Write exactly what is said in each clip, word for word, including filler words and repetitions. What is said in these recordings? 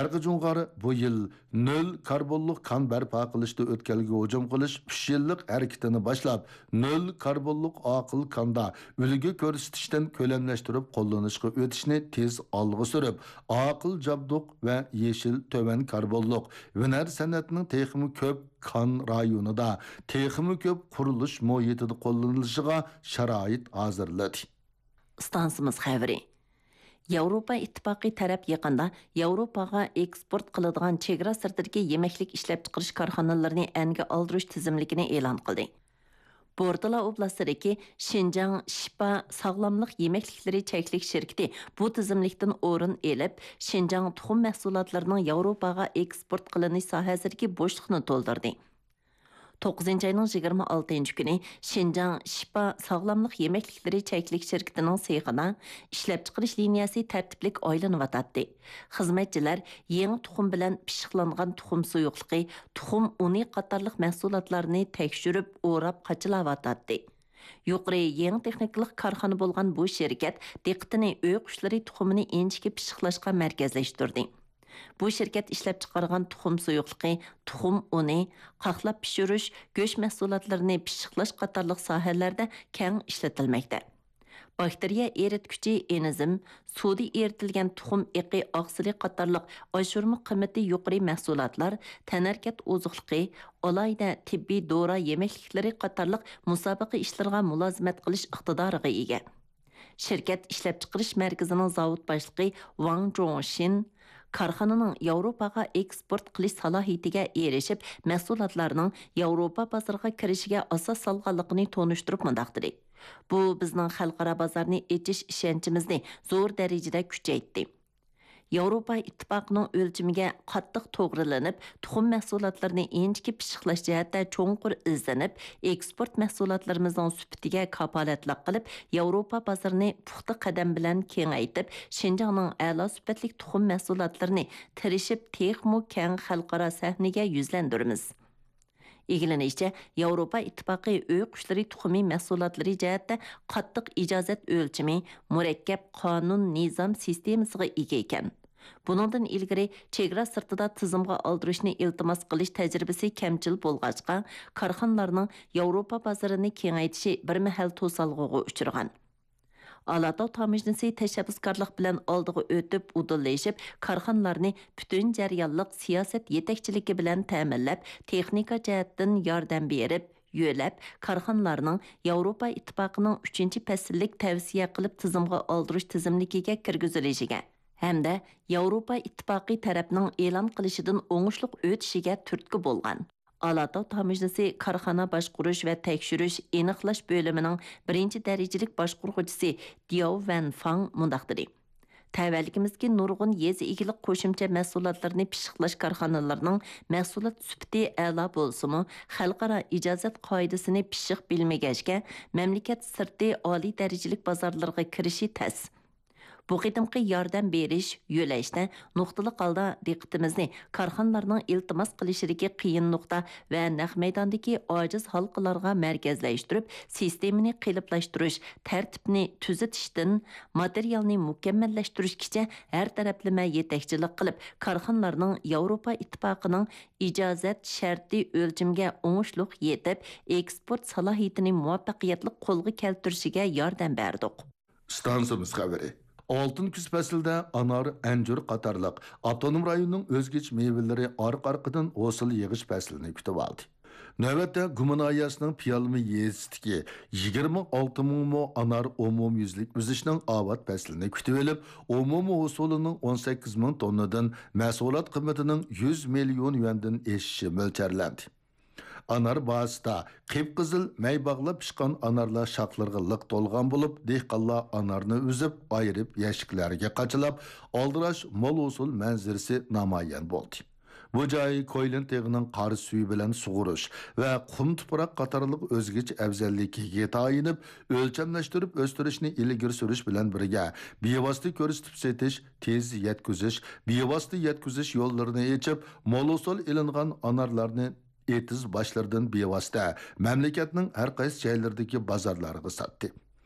شەرقىي جۇڭغار بۇ يىل نۆل كاربونلۇق كان بەرپا قىلىشتا ئۆتكەلگە ھۇجۇم قىلىش ئۈچ يىللىق ھەرىكىتىنى باشلاپ، نۆل كاربونلۇق ئاقىل كاندا ئۈلگە كۆرسىتىشتىن كۆلەملەشتۈرۈپ قوللىنىشقا ئۆتۈشنى تېز ئالغا سۈرۈپ، ئاقىل جابدۇق ۋە يېشىل تۆۋەن كاربونلۇق ھۈنەر سەنئەتنىڭ تېخىمۇ كۆپ كان رايونىدا، تېخىمۇ كۆپ قۇرۇلۇش مۇھىتىدا قوللىنىلىشىغا شارائىت ھازىرلىدى. ئىستانسىمىز خەۋىرى. ياۋروپا ئىتتىپاقى تەرەپ يېقىندا ياۋروپاغا ئېكسپورت قىلىدىغان چېگرا سىرتىدىكى يېمەكلىك ئىشلەپچىقىرىش كارخانىلىرىنى ئەنگە ئالدۇرۇش تىزىملىكىنى ئېلان قىلدى. بورتالا ئوبلاستىدىكى شىنجاڭ شىپا ساغلاملىق يېمەكلىكلىرى چەكلىك شىركىتى بۇ تىزىملىكتىن ئورۇن ئېلىپ، شىنجاڭ تۇخۇم مەھسۇلاتلىرىنىڭ ياۋروپاغا ئېكسپورت قىلىنىش ساھەسىدىكى بوشلۇقنى تولدۇردى. توققۇزىنچى ئاينىڭ يىگىرمە ئالتىنچى كۈنى شىنجاڭ شىپا ساغلاملىق يېمەكلىكلىرى چەكلىك شىركىتىنىڭ سېخىدا ئىشلەپچىقىرىش لىنىيەسى تەرتىپلىك ئايلىنىۋاتاتتى. خىزمەتچىلەر يېڭى تۇخۇم بىلەن پىششىقلانغان تۇخۇم سۇيۇقلۇقى، تۇخۇم ئۇنى قاتارلىق مەھسۇلاتلارنى تەكشۈرۈپ، ئوراپ قاچىلاۋاتاتتى. يۇقىرى يېڭى تېخنىكىلىق كارخانا بولغان بۇ شىركەت دىققىتىنى ئۆي قۇشلىرى تۇخۇمىنى ئىنچىكە پىششىقلاشقا مەركەزلەشتۈردى. بۇ شىركەت ئىشلەپچىقارغان تۇخۇم سۇيۇقلۇقى، تۇخۇم ئۇنى، قاقلاپ پىشۇرۇش، گۆش مەھسۇلاتلىرىنى پىششىقلاش قاتارلىق ساھەلەردە كەڭ ئىشلىتىلمەكتە. باكتېرىيە ئېرىتكۈچى ئېنزىم، سۇدا ئېرىتىلگەن تۇخۇم ئېقى ئاقسىلى قاتارلىق ئاشۇرما قىممىتى يۇقىرى مەھسۇلاتلار، تەنھەرىكەت ئوزۇقلۇقى، ئالاھىدە تېببىي دورا يېمەكلىكلىرى قاتارلىق مۇسابىقە ئىشلىرىغا مۇلازىمەت قىلىش ئىقتىدارىغا ئىگە. شىركەت ئىشلەپچىقىرىش مەركىزىنىڭ زاۋۇت باشلىقى ۋاڭ جوڭشىن كارخانىنىڭ ياۋروپاغا ئېكسپورت قىلىش سالاھىيىتىگە ئېرىشىپ، مەھسۇلاتلارنىڭ ياۋروپا بازىرىغا كىرىشىگە ئاساس سالغانلىقىنى تونۇشتۇرۇپ مۇنداق دېدى: بۇ بىزنىڭ خەلقئارا بازارنى ئېچىش ئىشەنچىمىزنى زور دەرىجىدە كۈچەيتتى. ياۋروپا ئىتتىپاقىنىڭ ئۆلچىمىگە قاتتىق توغرىلىنىپ، تۇخۇم مەھسۇلاتلىرىنى ئىنچىكە پىششىقلاش جەھەتتە چوڭقۇر ئىزدىنىپ، ئېكسپورت مەھسۇلاتلىرىمىزنىڭ سۈپىتىگە كاپالەتلىك قىلىپ، ياۋروپا بازىرىنى پۇختا قەدەم بىلەن كېڭەيتىپ، شىنجاڭنىڭ ئەلا سۈپەتلىك تۇخۇم مەھسۇلاتلىرىنى تىرىشىپ تېخىمۇ كەڭ خەلقئارا سەھنىگە يۈزلەندۈرىمىز. ئىگىلىنىشىچە، ياۋروپا ئىتتىپاقى ئۆي قۇشلىرى تۇخۇمى مەھسۇلاتلىرى جەھەتتە قاتتىق ئىجازەت ئۆلچىمى، مۇرەككەپ قانۇن نىزام سىستېمىسىغا ئىگە ئىكەن. بۇنىڭدىن ئىلگىرى چېگرا سىرتىدا تىزىمغا ئالدۇرۇشنى ئىلتىماس قىلىش تەجرىبىسى كەمچىل بولغاچقا، كارخانىلارنىڭ ياۋروپا بازىرىنى كېڭەيتىشى بىر مەھەل توسالغۇغا ئۇچرىغان. ئالاتاۋ تاموژنىسى تەشەببۇسكارلىق بىلەن ئالدىغا ئۆتۈپ، ئۇدۇللىشىپ، كارخانىلارنى پۈتۈن جەريانلىق سىياسەت يېتەكچىلىكى بىلەن تەمىنلەپ، تېخنىكا جەھەتتىن ياردەم بېرىپ، يۆلەپ، كارخانىلارنىڭ ياۋروپا ئىتتىپاقىنىڭ ئۈچىنچى پەسىللىك تەۋسىيە قىلىپ تىزىمغا ئالدۇرۇش تىزىملىكىگە كىرگۈزۈلۈشىگە ھەمدە ياۋروپا ئىتتىپاقى تەرەپنىڭ ئېلان قىلىشىدىن ئوڭۇشلۇق ئۆتۈشىگە تۈرتكە بولغان. ئالاتاۋ تاموژنىسى كارخانا باشقۇرۇش ۋە تەكشۈرۈش، ئېنىقلاش بۆلۈمىنىڭ بىرىنچى دەرىجىلىك باشقۇرغۇچىسى دياۋ ۋەنفاڭ مۇنداق دېدى: تەۋەلىكىمىزدىكى نۇرغۇن يېزا ئىگىلىك قوشۇمچە مەھسۇلاتلىرىنى پىششىقلاش كارخانىلىرىنىڭ مەھسۇلات سۈپىتى ئەلا بولسىمۇ، خەلقئارا ئىجازەت قائىدىسىنى پىششىق بىلمىگەچكە، مەملىكەت سىرتى ئالىي دەرىجىلىك بازارلىرىغا كىرىشى تەس. بۇ قېتىمقى ياردەم بېرىش، يۆلەشتە نۇقتىلىق ھالدا دىققىتىمىزنى كارخانىلارنىڭ ئىلتىماس قىلىشىدىكى قىيىن نۇقتا ۋە نەق مەيداندىكى ئاجىز ھالقىلارغا مەركەزلەشتۈرۈپ، سىستېمىنى قېلىپلاشتۇرۇش، تەرتىپنى تۈزىتىشتىن ماتېرىيالنى مۇكەممەللەشتۈرۈشكىچە ھەر تەرەپلىمە يېتەكچىلىك قىلىپ، كارخانىلارنىڭ ياۋروپا ئىتتىپاقىنىڭ ئىجازەت شەرتى ئۆلچىمىگە ئوڭۇشلۇق يېتىپ، ئېكسپورت سالاھىيىتىنى مۇۋەپپەقىيەتلىك قولغا كەلتۈرۈشىگە ياردەم بەردۇق. ئىستانسىمىز خەۋىرى. ئالتۇن كۈز پەسلىدە ئانار، ئەنجۈر قاتارلىق ئاپتونوم رايوننىڭ ئۆزگىچە مېۋىلىرى ئارقا-ئارقىدىن ھوسۇل يىغىش پەسلىنى كۈتۈۋالدى. نۆۋەتتە گۇما ناھىيەسىنىڭ پىيالمى يېزىسىدىكى يىگىرمە ئالتە مىڭ مو ئانار ئومۇميۈزلۈك ئۈزۈشنىڭ ئاۋات پەسلىنى كۈتۈۋېلىپ، ئومۇمىي ھوسۇلىنىڭ ئون سەككىز مىڭ توننىدىن مەھسۇلات قىممىتىنىڭ يۈز مىليون يۈەندىن ئېشىشى مۆلچەرلەندى. ئانار باھاسىدا قىپقىزىل مەي باغلاپ پىشقان ئانارلار شاخلىرىغا لىق تولغان بولۇپ، دېھقانلار ئانارنى ئۈزۈپ، ئايرىپ يەشىكلەرگە قاچىلاپ، ئالدىراش مول ھوسۇل مەنزىرىسى نامايان بولدى. بۇ جاي كويلىن تېغىنىڭ قار سۈيى بىلەن سۇغۇرۇش ۋە قۇم تۇپراق قاتارلىق ئۆزگىچە ئەۋزەللىكىگە تايىنىپ، ئۆلچەملەشتۈرۈپ ئۆستۈرۈشنى ئىلگىرى سۈرۈش بىلەن بىرگە، بىۋاسىتە كۆرسىتىپ سېتىش، تېز يەتكۈزۈش، بىۋاسىتە يەتكۈزۈش يوللىرىنى ئېچىپ، مول ھوسۇل ئېلىنغان ئانارلارنى ئېتىز باشلىرىدىن بىۋاسىتە مەملىكەتنىڭ ھەر قايسى جايلىرىدىكى بازارلارغا ساتتى.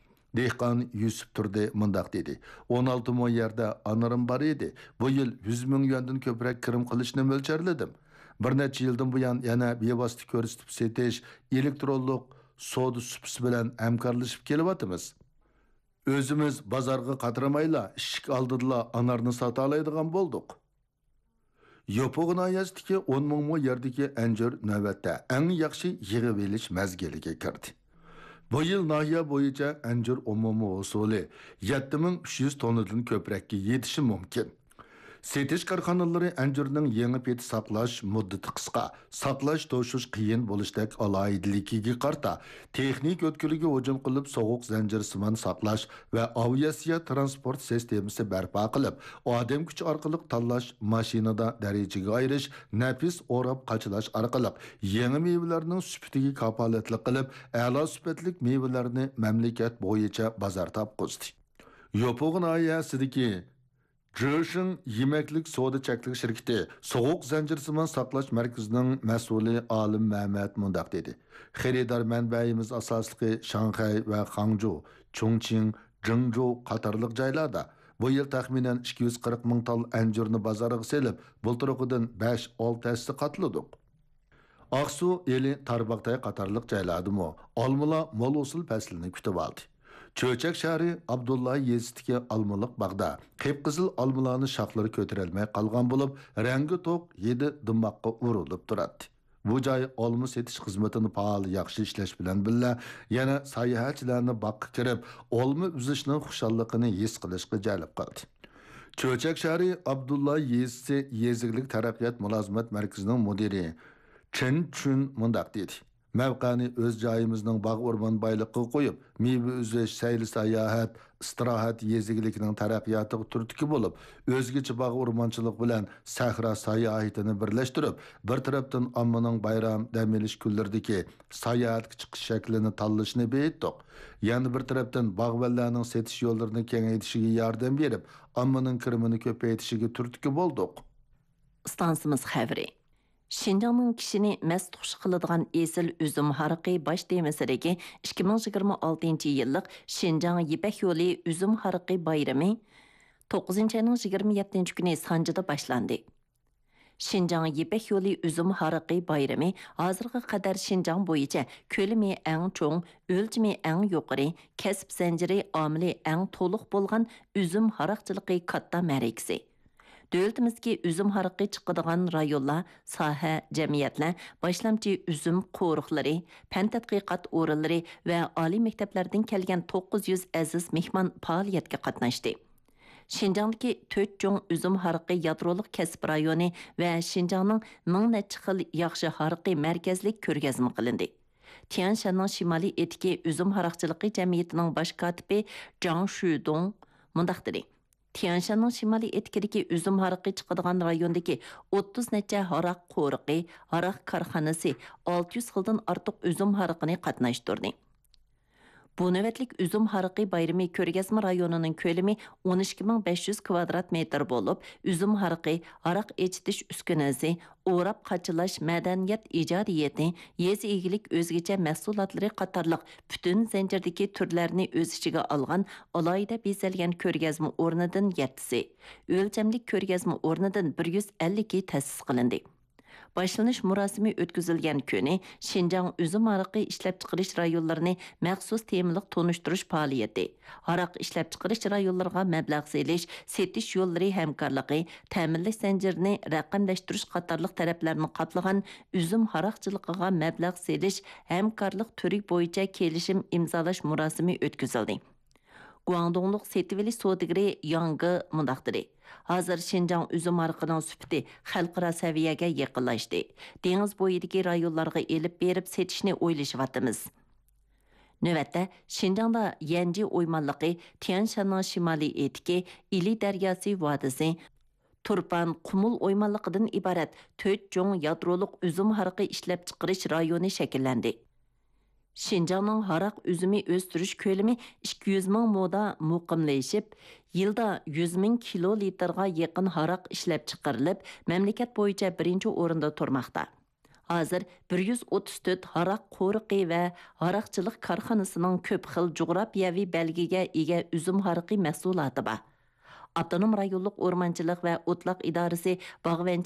دېھقان يۈسۈپ تۇردى مۇنداق دېدى: «ئون ئالتە مو يەردە ئانارىم بار ئىدى. بۇ يىل يۈز مىڭ يۈەندىن كۆپرەك كىرىم قىلىشنى مۆلچەرلىدىم. بىر نەچچە يىلدىن بۇيان يەنە بىۋاسىتە كۆرسىتىپ سېتىش، ئېلېكترونلۇق سودا سۇپىسى بىلەن ھەمكارلىشىپ كېلىۋاتىمىز. ئۆزىمىز بازارغا قاترىمايلا، ئىشىك ئالدىدىلا ئانارنى ساتالايدىغان بولدۇق.» يوپۇغا ناھىيەسىدىكى ئون مىڭ مو يەردىكى ئەنجۈر نۆۋەتتە ئەڭ ياخشى يىغىۋېلىش مەزگىلىگە كىردى. بۇ يىل ناھىيە بويىچە ئەنجۈر ئومۇمىي ھوسۇلى يەتتە مىڭ ئۈچ يۈز توننىدىن كۆپرەككە يېتىشى مۇمكىن. سېتىش كارخانىلىرى ئەنجۈرنىڭ يېڭى پېتى ساقلاش مۇددىتى قىسقا، ساقلاش توشۇش قىيىن بولۇشتەك ئالاھىدىلىكىگە قارىتا، تېخنىكا ئۆتكىلىگە ھۇجۇم قىلىپ، سوغۇق زەنجىرسىمان ساقلاش ۋە ئاۋىئاتسىيە تىرانسپورت سىستېمىسى بەرپا قىلىپ، ئادەم كۈچى ئارقىلىق تاللاش، ماشىنىدا دەرىجىگە ئايرىش، نەپىس ئوراپ قاچىلاش ئارقىلىق يېڭى مېۋىلەرنىڭ سۈپىتىگە كاپالەتلىك قىلىپ، ئەلا سۈپەتلىك مېۋىلەرنى مەملىكەت بويىچە بازار تاپقۇزدى. يوپۇغ ناھىيەسىدىكى جېشىڭ يېمەكلىك سودا چەكلىك شىركىتى سوغۇق زەنجىرسىمان ساقلاش مەركىزىنىڭ مەسئۇلى ئالىم مەمەت مۇنداق دېدى: «خېرىدار مەنبەيىمىز ئاساسلىقى شاڭخەي ۋە خاڭجۇ، چۇڭچىڭ، جېڭجۇ قاتارلىق جايلاردا بۇ يىل تەخمىنەن ئىككى يۈز قىرىق مىڭ تال ئەنجۈرنى بازارغا سېلىپ، بۇلتۇرقىدىن بەش-ئالتە ھەسسە قاتلىدۇق.» ئاقسۇ، ئىلى، تارباغتاي قاتارلىق جايلاردىمۇ ئالمىلار مول ھوسۇل پەسلىنى كۈتۈۋالدى. چۆچەك شەھىرى ئابدۇللا يېزىسىدىكى ئالمىلىق باغدا قىپقىزىل ئالمىلارنى شاخلىرى كۆتۈرەلمەي قالغان بولۇپ، رەڭگى توق، ھىدى دىماققا ئۇرۇلۇپ تۇراتتى. بۇ جاي ئالما سېتىش خىزمىتىنى پائال ياخشى ئىشلەش بىلەن بىللە، يەنە ساياھەتچىلەرنى باغقا كىرىپ، ئالما ئۈزۈشنىڭ خۇشاللىقىنى ھېس قىلىشقا جەلپ قىلدى. چۆچەك شەھىرى ئابدۇللا يېزىسى يېزا ئىگىلىك تەرەققىيات مۇلازىمەت مەركىزىنىڭ مۇدىرى چېن چۈن مۇنداق دېدى: «مەۋقەنى ئۆز جايىمىزنىڭ باغ-ئورمان بايلىقىغا قويۇپ، مېۋە ئۈزۈش، سەيلە-ساياھەت، ئىستىراھەت يېزا ئىگىلىكىنىڭ تەرەققىياتىغا تۈرتكە بولۇپ، ئۆزگىچە باغ-ئورمانچىلىق بىلەن سەھرا ساياھىتىنى بىرلەشتۈرۈپ، بىر تەرەپتىن ئاممىنىڭ بايرام، دەم ئېلىش كۈنلىرىدىكى ساياھەتكە چىقىش شەكلىنى تاللىشىنى بېيىتتۇق. يەنە بىر تەرەپتىن باغۋەنلەرنىڭ سېتىش يوللىرىنى كېڭەيتىشىگە ياردەم بېرىپ، ئاممىنىڭ كىرىمىنى كۆپەيتىشىگە تۈرتكە بولدۇق.» ئىستانسىمىز خەۋىرى. شىنجاڭنىڭ كىشىنى مەست خۇش قىلىدىغان ئېسىل ئۈزۈم ھارىقى باش تېمىسىدىكى ئىككى مىڭ يىگىرمە ئالتىنچى يىللىق شىنجاڭ يىپەك يولى ئۈزۈم ھارىقى بايرىمى توققۇزىنچى ئاينىڭ يىگىرمە يەتتىنچى كۈنى سانجىدا باشلاندى. شىنجاڭ يىپەك يولى ئۈزۈم ھارىقى بايرىمى ھازىرغا قەدەر شىنجاڭ بويىچە كۆلىمى ئەڭ چوڭ، ئۆلچىمى ئەڭ يۇقىرى، كەسىپ زەنجىرى ئامىلى ئەڭ تولۇق بولغان ئۈزۈم ھاراقچىلىقى كاتتا مەرىكىسى. دۆلىتىمىزدىكى ئۈزۈم ھارىقى چىقىدىغان رايونلار، ساھە، جەمئىيەتلەر، باشلامچى ئۈزۈم قورۇقلىرى، پەن تەتقىقات ئورۇنلىرى ۋە ئالىي مەكتەپلەردىن كەلگەن توققۇز يۈز ئەزىز مېھمان پائالىيەتكە قاتناشتى. شىنجاڭدىكى تۆت چوڭ ئۈزۈم ھارىقى يادرولۇق كەسىپ رايونى ۋە شىنجاڭنىڭ مىڭ نەچچە خىل ياخشى ھارىقى مەركەزلىك كۆرگەزمە قىلىندى. تيەنشاننىڭ شىمالىي ئېتىكى ئۈزۈم ھاراقچىلىقى جەمئىيىتىنىڭ باش كاتىپى جاڭ شۈدۇڭ مۇنداق دېدى: «تيەنشاننىڭ شىمالىي ئېتىكىدىكى ئۈزۈم ھارىقى چىقىدىغان رايوندىكى ئوتتۇز نەچچە ھاراق قورۇقى، ھاراق كارخانىسى ئالتە يۈز خىلدىن ئارتۇق ئۈزۈم ھارىقىنى قاتناشتۇردى.» بۇ نۆۋەتلىك ئۈزۈم ھارىقى بايرىمى كۆرگەزمە رايونىنىڭ كۆلىمى ئون ئىككى مىڭ بەش يۈز كىۋادرات مېتىر بولۇپ، ئۈزۈم ھارىقى، ھاراق ئېچىتىش ئۈسكۈنىسى، ئوراپ قاچىلاش مەدەنىيەت ئىجادىيىتى، يېزا ئىگىلىك ئۆزگىچە مەھسۇلاتلىرى قاتارلىق پۈتۈن زەنجىردىكى تۈرلەرنى ئۆز ئىچىگە ئالغان ئالاھىدە بېزەلگەن كۆرگەزمە ئورنىدىن يەتتىسى، ئۆلچەملىك كۆرگەزمە ئورنىدىن بىر يۈز ئەللىكى تەسىس قىلىندى. باشلىنىش مۇراسىمى ئۆتكۈزۈلگەن كۈنى شىنجاڭ ئۈزۈم ھارىقى ئىشلەپچىقىرىش رايونلىرىنى مەخسۇس تېمىلىق تونۇشتۇرۇش پائالىيىتى، ھاراق ئىشلەپچىقىرىش رايونلىرىغا مەبلەغ سېلىش، سېتىش يوللىرى ھەمكارلىقى، تەمىنلەش زەنجىرىنى رەقەملەشتۈرۈش قاتارلىق تەرەپلەرنى قاپلىغان ئۈزۈم ھاراقچىلىقىغا مەبلەغ سېلىش ھەمكارلىق تۈرى بويىچە كېلىشىم ئىمزالاش مۇراسىمى ئۆتكۈزۈلدى. گۇاڭدۇڭلۇق سېتىۋېلىش سودىگىرى ياڭ گې مۇنداق دېدى: «ھازىر شىنجاڭ ئۈزۈم ھارىقىنىڭ سۈپىتى خەلقئارا سەۋىيەگە يېقىنلاشتى. دېڭىز بويىدىكى رايونلارغا ئېلىپ بېرىپ سېتىشنى ئويلىشىۋاتىمىز.» نۆۋەتتە، شىنجاڭدا يەنجى ئويمانلىقى، تيەنشاننىڭ شىمالىي ئېتىكى، ئىلى دەرياسى ۋادىسى، تۇرپان، قۇمۇل ئويمانلىقىدىن ئىبارەت تۆت چوڭ يادرولۇق ئۈزۈم ھارىقى ئىشلەپچىقىرىش رايونى شەكىللەندى. شىنجاڭنىڭ ھاراق ئۈزۈمى ئۆستۈرۈش كۆلىمى ئىككى يۈز مىڭ مودا مۇقىملىشىپ، يىلدا يۈز مىڭ كىلو لىتىرغا يېقىن ھاراق ئىشلەپچىقىرىلىپ، مەملىكەت بويىچە بىرىنچى ئورۇندا تۇرماقتا. ھازىر بىر يۈز ئوتتۇز تۆت ھاراق قورۇقى ۋە ھاراقچىلىق كارخانىسىنىڭ كۆپ خىل جۇغراپىيەۋى بەلگىگە ئىگە ئۈزۈم ھارىقى مەھسۇلاتى بار. ئاپتونوم رايونلۇق ئورمانچىلىق ۋە ئوتلاق ئىدارىسى باغۋەنچىلىك